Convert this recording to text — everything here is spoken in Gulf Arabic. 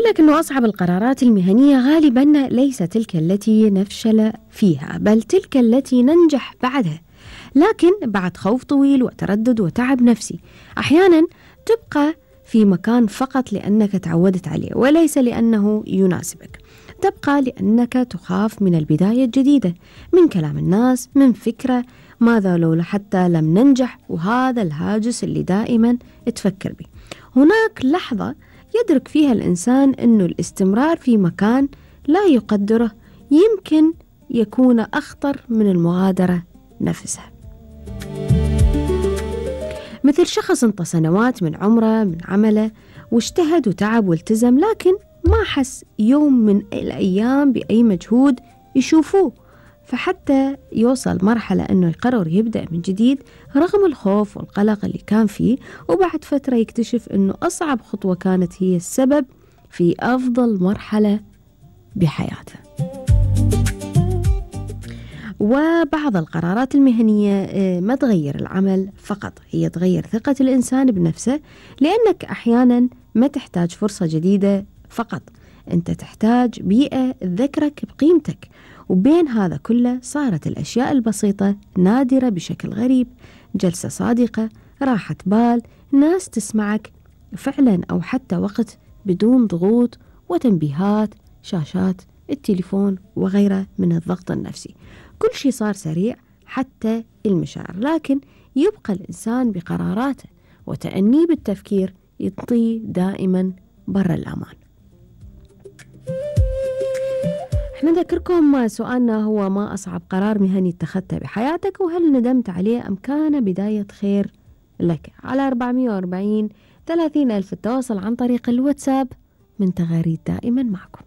لك أنه أصعب القرارات المهنية غالباً ليس تلك التي نفشل فيها، بل تلك التي ننجح بعدها، لكن بعد خوف طويل وتردد وتعب نفسي. أحياناً تبقى في مكان فقط لأنك تعودت عليه وليس لأنه يناسبك. تبقى لأنك تخاف من البداية الجديدة، من كلام الناس، من فكرة ماذا لو حتى لم ننجح، وهذا الهاجس اللي دائما تفكر به. هناك لحظة يدرك فيها الإنسان أنه الاستمرار في مكان لا يقدره يمكن يكون أخطر من المغادرة نفسها. مثل شخص انطى سنوات من عمره من عمله واجتهد وتعب والتزم، لكن ما حس يوم من الأيام بأي مجهود يشوفوه، فحتى يوصل مرحلة أنه يقرر يبدأ من جديد رغم الخوف والقلق اللي كان فيه، وبعد فترة يكتشف أنه أصعب خطوة كانت هي السبب في أفضل مرحلة بحياته. وبعض القرارات المهنية ما تغير العمل فقط، هي تغير ثقة الإنسان بنفسه، لأنك أحيانا ما تحتاج فرصة جديدة فقط، أنت تحتاج بيئة تذكرك بقيمتك. وبين هذا كله صارت الأشياء البسيطة نادرة بشكل غريب، جلسة صادقة، راحة بال، ناس تسمعك فعلا، أو حتى وقت بدون ضغوط وتنبيهات شاشات التليفون وغيره من الضغط النفسي. كل شيء صار سريع حتى المشاعر، لكن يبقى الإنسان بقراراته وتأنيه بالتفكير يطي دائما برا الأمان. احنا نذكركم سؤالنا هو: ما أصعب قرار مهني اتخذته بحياتك، وهل ندمت عليه أم كان بداية خير لك؟ على 440 30 ألف التواصل عن طريق الواتساب من تغاريد دائما معكم.